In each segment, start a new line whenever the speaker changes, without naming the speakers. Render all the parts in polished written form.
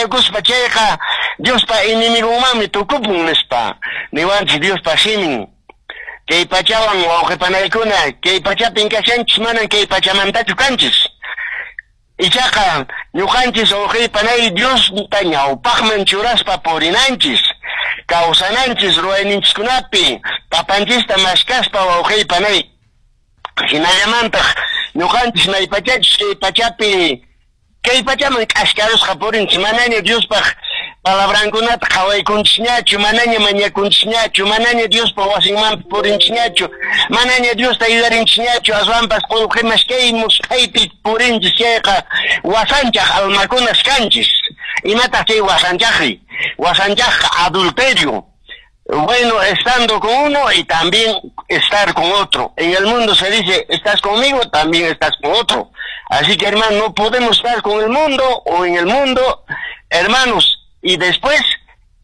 mañakuspa chayqa Diospa enemigonmanmi tukupun nispa niwanchis Diospa simin. Kay pachawan wawqipanaykuna, kay pachapin kashanchis, manan kay pachamantachu kanchis. Ichaqa ñuqanchis wawqipanay Diosta ñawpaqman churaspa purinanchis, kawsananchis ruwayninchiskunapi, papanchista mashkaspa wawqipanay. Hinallamantaq ñuqanchis maypachachus kay pachapi kay pachaman k'askarusqa purinchis, manaña Diospaq palabrankunata qhawaykunchisñachu, manaña mañakunchisñachu, manaña Diospa wasinmanpas purinchisñachu, manaña Diosta yuyarinchisñachu, aswanpas qullqi maskay musphaypi purinchis chayqa wasanchaq almakunas kanchis. Imataq chay wasanchaqri? Wasanchaqqa adulterio. Bueno, estando con uno y también estar con otro. En el mundo se dice, estás conmigo, también estás con otro. Así que, hermano, no podemos estar con el mundo o en el mundo, hermanos, y después,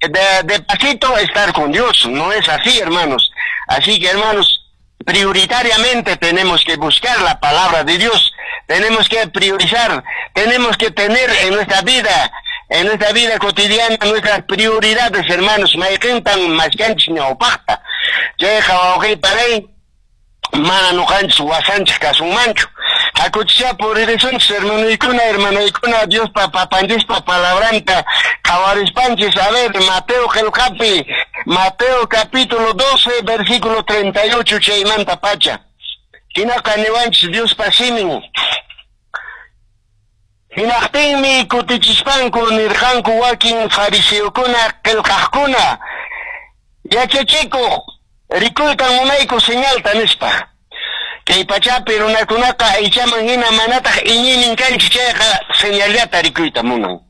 de pasito, estar con Dios. No es así, hermanos. Así que, hermanos, prioritariamente tenemos que buscar la palabra de Dios. Tenemos que priorizar, tenemos que tener en nuestra vida cotidiana, nuestras prioridades, hermanos. Mayqintan maskanchis ñawpaqta. Chayqa wawqipanay mana ñuqanchis wasanchis kasunmanchu. Hakuchisha puririsunchis hermanoykuna, hermanaykuna, Diospa papanchispa palabranta qhawarispanchis. A ver, Mateo qillqapi, Mateo capítulo 12, versículo 38 chaymanta pacha. Hinaqa niwanchis Diospa simin. Hinaqtinmi kutichispanku nirqanku wakin fariseokuna qillqaqkuna, yachachikuq, rikuytan munayku señalta nispa. Kay pachapi runakunaqa aychaman hina manataq iñiynin kanchis chayqa señallata rikuyta munan.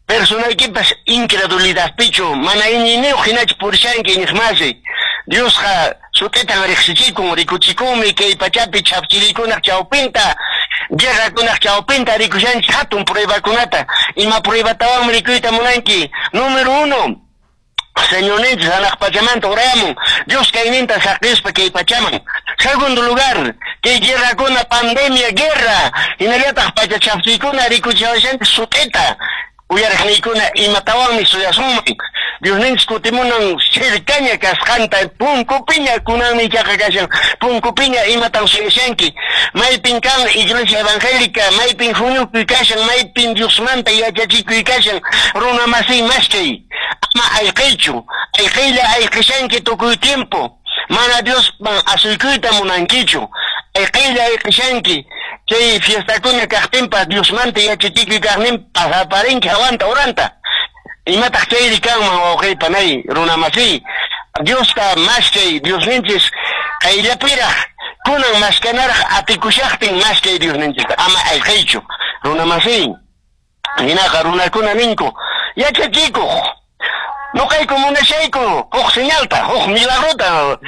Personaykipas incredulidadpichu mana iñiyniyuq hinachu purishanki iñiqmasi. Diosqa sut'itan riqsichikun, rikuchikunmi kay pachapi chhafchiriykunaq chawpinta, guerrakunaq chawpinta rikushanchis hatun pruebakunata. Ima pruebatawanmi rikuyta munanki? Número 1, Señorninchis hanaq pachamanta urayamun, Dios kayninta saqispa kay pachaman. Segundo lugar, kay guerrakuna, pandemia, guerra, hinallataq pacha chhafchiykuna rikuchiwashanchis sut'ita. Uyariqniykuna imatawanmi suyasunman. Diosninchis kutimunan cercaña kasqanta, punkupiña kunanmi ichaqa kashan, punkupiña imatan suyashanki. Maypin kan iglesia evangélica, maypin huñukuy kashan, maypin Diosmanta yachachikuy kashan, runa masiy maskay. Ama ayqiychu, ayqiylla ayqishanki tukuy tiempo. Mana Diosman asuykuyta munankichu. Ayqiylla ayqishanki. Chay fiestakuna kaqtinpas Diosmanta yachachikuy kaqnin pasaparinki hawanta uranta. Imataq chayri kanman wawqipanay runa masiy. Diosta maskay Diosninchis qayllapiraq kunan maskanaraq atikushaqtin maskay Diosninchista ama ayqiychu runa masiy. Hinaqa runakuna ninku yachachikuq ñuqayku munashayku huk señalta, huk milagrota,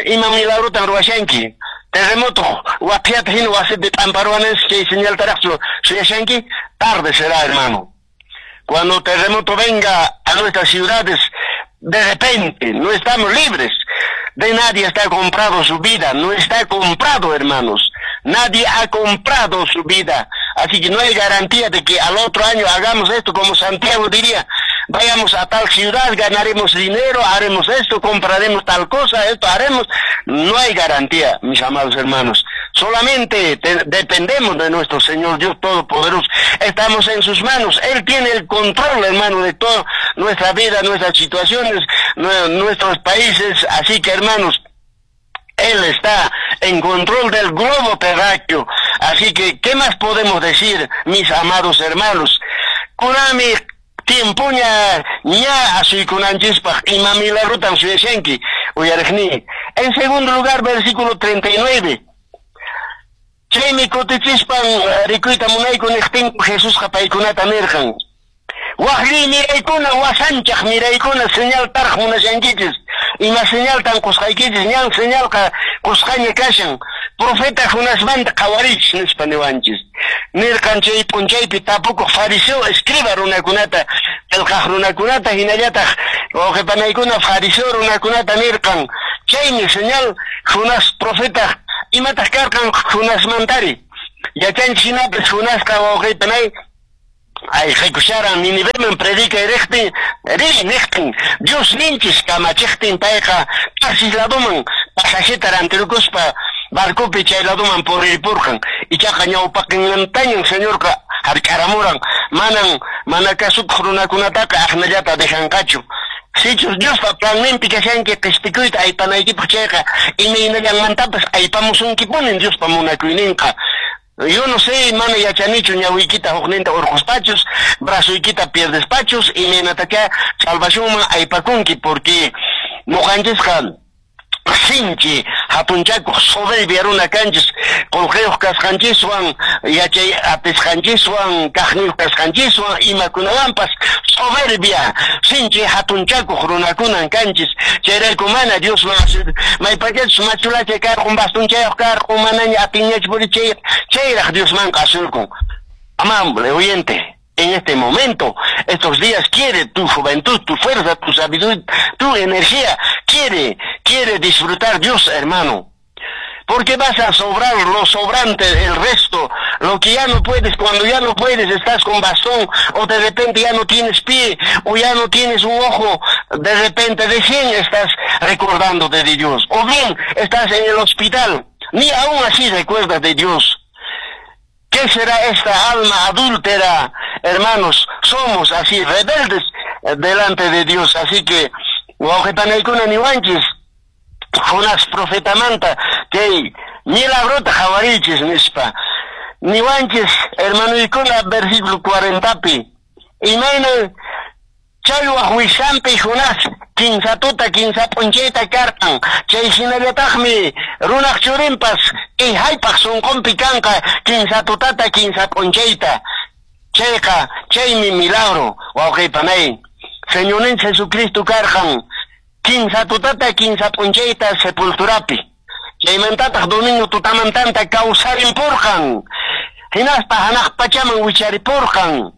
ima milagrotan ruwashanki. Terremoto waphiyata hina wasipi p'amparuwananchis chay señaltaraqchu suyashanki. Tarde será, hermano. Cuando terremoto venga a nuestras ciudades, de repente, no estamos libres. De nadie está comprado su vida, no está comprado, hermanos. Nadie ha comprado su vida. Así que no hay garantía de que al otro año hagamos esto, como Santiago diría, vayamos a tal ciudad, ganaremos dinero, haremos esto, compraremos tal cosa, esto haremos. No hay garantía, mis amados hermanos. Solamente dependemos de nuestro Señor Dios Todopoderoso. Estamos en sus manos. Él tiene el control, hermano, de toda nuestra vida, nuestras situaciones, nuestros países. Así que, hermanos, Él está en control del globo terráqueo. Así que, ¿qué más podemos decir, mis amados hermanos? Kunanmi tiempoña ña asuykunanchispaq ima milagrotan suyashanki uyariqni. En segundo lugar, versículo 39. Chaymi kutichispan rikuyta munayku niqtinku Jesusqa paykunata nirqan. Waqli miraykuna, wasanchaq miraykuna señal taraq munashankichis. Ima señaltan qusqaykichis, ñan señalqa qusqaña kashan. Profeta Jonasmanta qhawarichis nispa niwanchis. Nirqan chay p'unchaypi tapukuq fariseo escriba runakunata, qillqaq runakunata hinallataq wawqipanaykuna fariseo runakunata nirqan. Chaymi señal Jonás profeta imataq karqan Jonasmantari. Yachanchis hinapis Jonasqa wawqipanay Ayqikusharan Niniveman predicay riqtin, riy niqtin, Diosninchis kamachiqtin payqa Tarsis ladoman pasajeta rantirukuspa barcopi chay ladoman puriripurqan. Ichaqa ñawpaqinmantañan Señorqa hark'aramuran, manan mana kasukuq runakunataqa aqnallata dejanqachu. Sichus Diospa planninpi kashanki qespikuyta aypanaykipaq chayqa, imaynallanmantapas aypamusunkipunin Diospa munakuyninqa. Yo no sé, mana yachanichu ñawiykita hukninta urquspachus, brazoykita pierdespachus, imaynatachá salvacionman aypakunki, porque ñuqanchisqa sinchi hatunchakuq soberbia runa kanchis, qullqiyuq kasqanchiswan, yachay atisqanchiswan, kaqniyuq kasqanchiswan, imakunawanpas soberbia, sinchi hatunchakuq runakunan kanchis. Chayrayku mana Diosman maypachachus machulacha karqun, bastonchayuq karqun, manaña atinñachu puri chay chayraq Diosmanqa asurkun. Amable oyente, en este momento, estos días quiere tu juventud, tu fuerza, tu sabiduría, tu energía, quiere disfrutar Dios, hermano. Porque vas a sobrar lo sobrante, el resto, lo que ya no puedes, cuando ya no puedes, estás con bastón, o de repente ya no tienes pie, o ya no tienes un ojo, de repente recién estás recordándote de Dios. O bien estás en el hospital, ni aún así recuerdas de Dios. ¿Qué será esta alma adúltera? Hermanos, somos así, rebeldes delante de Dios. Así que, wawqipanaykuna niwanchis, Jonás profetamanta, kay milagrota qhawariychis nispa. Niwanchis, hermanoykuna, versículo 40pi, imayna challwaq wiksanpi Jonás kinsa tuta kinsa p'unchayta karqan, chay hinallataqmi runaq churinpas kay hallp'aq sunqunpi kanqa kinsa tutata kinsa p'unchayta. Chayqa chaymi milagro, wawqipanay. Señorninchik Jesucristo karqan kinsa tutata kinsa p'unchayta sepulturapi. Chaymantataq domingo tutamantanta kawsarimpurqan. Hinaspa hanaq pachaman wicharipurqan.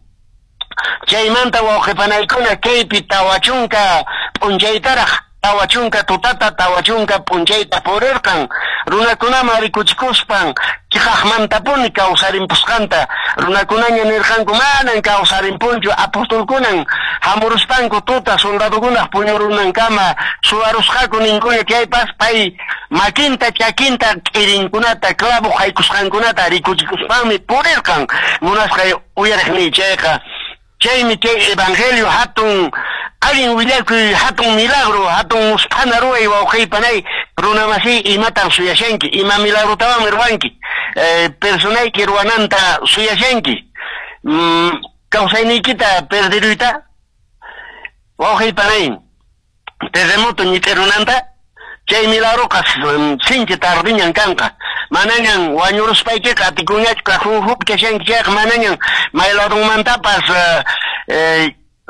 Chaymanta wawqipanaykuna kaypi 40 p'unchaytaraq, 40 tutata, 40 p'unchayta purirqan. Runakunaman rikuchikuspan chiqaqmantapuni kawsarimpusqanta. Runakunaña nirqanku manan kawsarimpunchu, apostolkunan hamuruspanku tuta soldadokunaq puñurunankama suwarusqaku ninkuña, chaypas pay makinta, chakinta, k'irinkunata, clavo haykusqankunata rikuchikuspanmi purirqan. Munasqay uyariqniy chayqa, chaymi chay evangelio hatun allin willakuy, hatun milagro, hatun musphana ruway, wawqiypanay, runamasiy, imatan suyashanki, ima milagrotawanmi ruwanki, personayki ruwananta suyashanki, kawsayniykita perdiruyta, wawqiypanay, terremoto ñit'irunanta, chay milagroqa sinchi tardiñan kanqa. Manañan wañuruspaykiqa atikunñachu kajun kashanki chayqa, manañan may ladunmantapas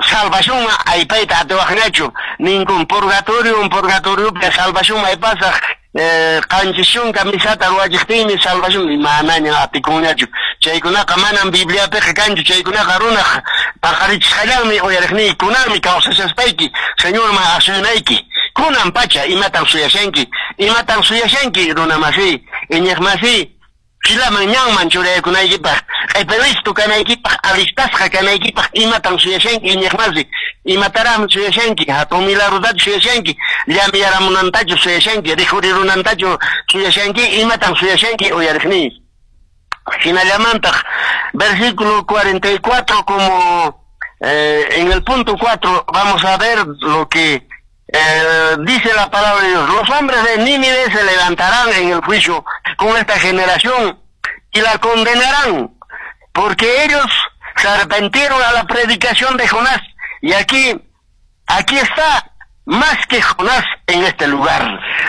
salvacionman aypayta atiwaqñachu. Ninkun purgatorio, purgatoriopi salvacionman aypasaq, 70 misata ruwachiqtinmi salvación, manañan atikunñachu. Chaykunaqa manan Bibliapiqa kanchu, chaykunaqa runaq paqarichisqallanmi uyariqniy, kunanmi kawsashaspayki Señorman asunayki. Kunan pacha imatan suyashanki, imatan suyashanki runamasiy, iñiqmasiy, filaman ñanman churaykunaykipaq, q'epi listo kanaykipaq, alistasqa kanaykipaq, imatan suyashanki iñiqmasi, imataraqmi suyashanki, hatun milagrotachu suyashanki, llamiyaramunantachu suyashanki, rikhurirunantachu suyashanki, imatan suyashanki uyariqniy. Hinallamantaq, versículo 44, como en el punto 4 vamos a ver lo que dice la palabra de Dios. Los hombres de Nínive se levantarán en el juicio con esta generación y la condenarán, porque ellos se arrepintieron a la predicación de Jonás. Y aquí está más que Jonás en este lugar.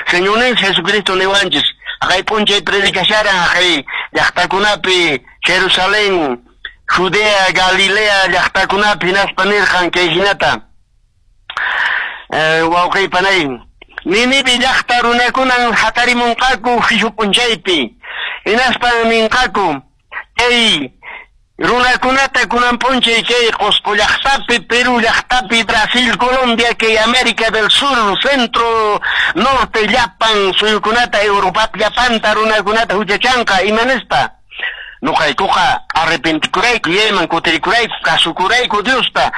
Señor Jesucristo niwanchis, hay p'unchay predicasharan, hay llaqtakunapi, Jerusalén, Judea, Galilea, llaqtakunapi, hinaspa nirqan kay hinata. Wawqiypanay, Ninive llaqta runakunan hatarimunqaku juicio p'unchaypi, hinaspan ninqaku kay runakunata kunan p'unchay kay Qusqu llaqtapi, Perú llaqtapi, Brasil, Colombia, kay América del Sur, Centro, Norte, llapan suyukunata, Europa llapanta runakunata huchachanqa, ima nispa? Noqaykuqa arrepentikurayku, yayman kutirikurayku, kasukurayku Diosta.